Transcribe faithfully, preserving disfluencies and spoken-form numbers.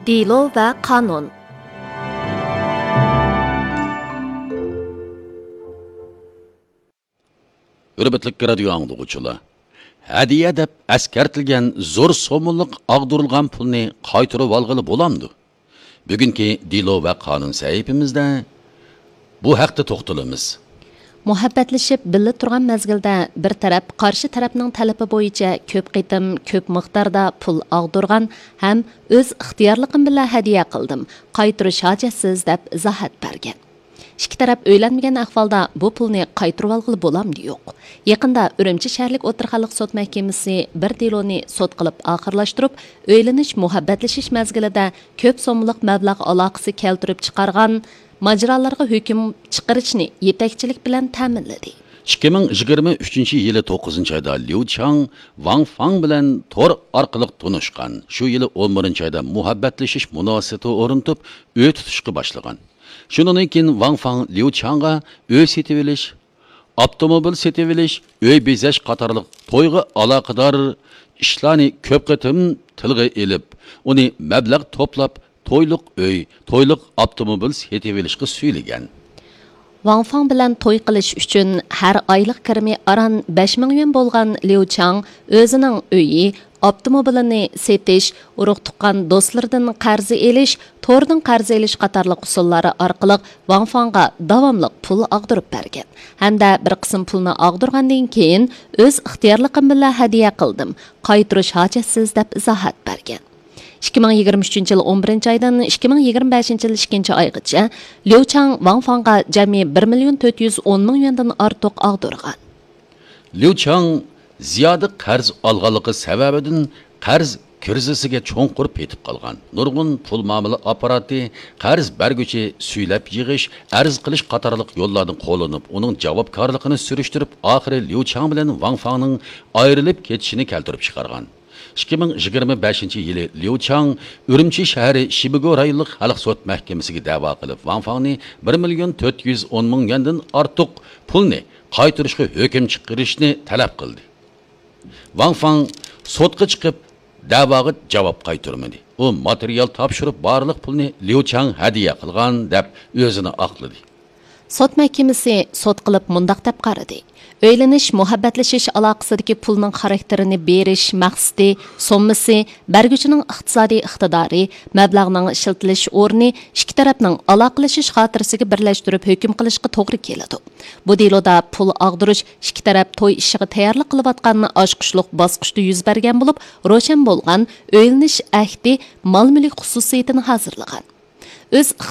دېلو ۋە قانۇن. ھۆرمەتلىك رادىيو ئاڭلىغۇچىلار، ھەدىيە دەپ ئەسكەرتىلگەن زور سوممىلىق ئاغدۇرۇلغان پۇلنى قايتۇرۇۋالغىلى بولامدۇ؟ بۈگۈنكى دېلو ۋە قانۇن سەھىپىمىزدە بۇ ھەقتە توختىلىمىز. مۇھەببەتلىشىپ بىللە تۇرغان مەزگىلدە بىر تەرەپ قارشى تەرەپنىڭ تەلىپى بويىچە كۆپ قېتىم، كۆپ مىقداردا پۇل ئاغدۇرغان ھەم ئۆز ئىختىيارلىقىم بىلەن ھەدىيە قىلدىم، قايتۇرۇش ھاجەتسىز، دەپ ئىزاھات بەرگەن. ئىككى تەرەپ ئۆيلەنمىگەن ئەھۋالدا بۇ پۇلنى قايتۇرۇۋالغىلى بولامدۇ يوق؟ يېقىندا ئۈرۈمچى شەھەرلىك ئوتتۇرا خەلق سوت مەھكىمىسى بىر دېلونى سوت قىلىپ ئاخىرلاشتۇرۇپ، ئۆيلىنىش، مۇھەببەتلىشىش مەزگىلىدە كۆپ سوممىلىق مەبلەغ ئالاقىسى كەلتۈرۈپ چىقارغان ماجىرالارغا ھۆكۈم چىقىرىشنى يېتەكچىلىك بىلەن تەمىنلىدى. ئىككى مىڭ يىگىرمە ئۈچىنچى يىلى توققۇزىنچى ئايدا ليۇ چاڭ ۋاڭ فاڭ بىلەن تور ئارقىلىق تونۇشقان. شۇ يىلى ئون بىرىنچى ئايدا مۇھەببەتلىشىش مۇناسىۋىتى ئورنىتىپ، ئۆي تۇتۇشقا باشلىغان. شۇنىڭدىن كېيىن ۋاڭ فاڭ ليۇ چاڭغا ئۆي سېتىۋېلىش، ئاپتوموبىل سېتىۋېلىش، ئۆي بېزەش قاتارلىق تويغا ئالاقىدار ئىشلارنى كۆپ قېتىم تىلغا ئېلىپ، ئۇنى مەبلەغ توپلاپ، تويلۇق ئۆي، تويلۇق ئاپتوموبىل سېتىۋېلىشقا سۈيلىگەن. ۋاڭ فاڭ بىلەن توي قىلىش ئۈچۈن ھەر ئايلىق كىرىمى ئاران بەش مىڭ يۈەن بولغان ليۇ چاڭ ئۆزىنىڭ ئۆيى، ئاپتوموبىلىنى سېتىش، ئۇرۇق-تۇغقان دوستلىرىدىن قەرز ئېلىش، توردىن قەرز ئېلىش قاتارلىق ئۇسۇللار ئارقىلىق ۋاڭ فاڭغا داۋاملىق پۇل ئاغدۇرۇپ بەرگەن ھەمدە بىر قىسىم پۇلنى ئاغدۇرغاندىن كېيىن، ئۆز ئىختىيارلىقىم بىلەن ھەدىيە قىلدىم، قايتۇرۇش ھاجەتسىز، دەپ ئىزاھات بەرگەن. ئىككى مىڭ يىگىرمە ئۈچىنچى يىل ئون بىرىنچى ئايدىن ئىككى مىڭ يىگىرمە بەشىنچى يىل ئىككىنچى ئايغىچە ليۇ چاڭ ۋاڭ فاڭغا جەمئىي بىر مىليون تۆت يۈز ئون مىڭ يۈەندىن ئارتۇق ئاغدۇرغان. ليۇ چاڭ زىيادە قەرز ئالغانلىقى سەۋەبىدىن قەرز كىرىزىسىگە چوڭقۇر پېتىپ قالغان. نۇرغۇن پۇل مۇئامىلە ئاپپاراتى، قەرز بەرگۈچى سۈيلەپ يىغىش، ئەرز قىلىش قاتارلىق يوللارنى قوللىنىپ، ئۇنىڭ جاۋابكارلىقىنى سۈرۈشتۈرۈپ، ئاخىرى ليۇ چاڭ بىلەن ۋاڭ فاڭنىڭ ئايرىلىپ كېتىشىنى كەلتۈرۈپ چىقارغان. ئىككى مىڭ يىگىرمە بەشىنچى يىلى ليۇ چاڭ ئۈرۈمچى شەھىرى شىبىگو رايونلۇق خەلق سوت مەھكىمىسىگە دەۋا قىلىپ، ۋاڭ فاڭنى بىر مىليون تۆت يۈز ئون مىڭ يۈەندىن ئارتۇق پۇلنى قايتۇرۇشقا ھۆكۈم چىقىرىشنى تەلەپ قىلدى. ۋاڭ فاڭ سوتقا چىقىپ، دەۋاغا جاۋاب قايتۇرمىدى. ئۇ ماتېرىيال تاپشۇرۇپ، بارلىق پۇلنى ليۇ چاڭ ھەدىيە قىلغان، دەپ ئۆزىنى ئاقلىدى. سوت مەھكىمىسى سوت قىلىپ مۇنداق دەپ قارىدى: ئۆيلىنىش، مۇھەببەتلىشىش ئالاقىسىدىكى پۇلنىڭ خاراكتېرىنى بېرىش مەقسىتى، سوممىسى، بەرگۈچىنىڭ ئىقتىسادىي ئىقتىدارى، مەبلەغنىڭ ئىشلىتىلىش ئورنى ئىككى تەرەپنىڭ ئالاقىلىشىش خاتىرىسىگە بىرلەشتۈرۈپ ھۆكۈم قىلىشقا توغرا كېلىدۇ. بۇ دېلودا پۇل ئاغدۇرۇش ئىككى تەرەپ توي ئىشىغا تەييارلىق قىلىۋاتقان ئاچقۇچلۇق باسقۇچتا يۈز بەرگەن بولۇپ، روشەن بولغان ئۆيلىنىش ئەھدى مال-مۈلۈك خۇسۇسىيىتىنى ھازىرلىغان. ئۆز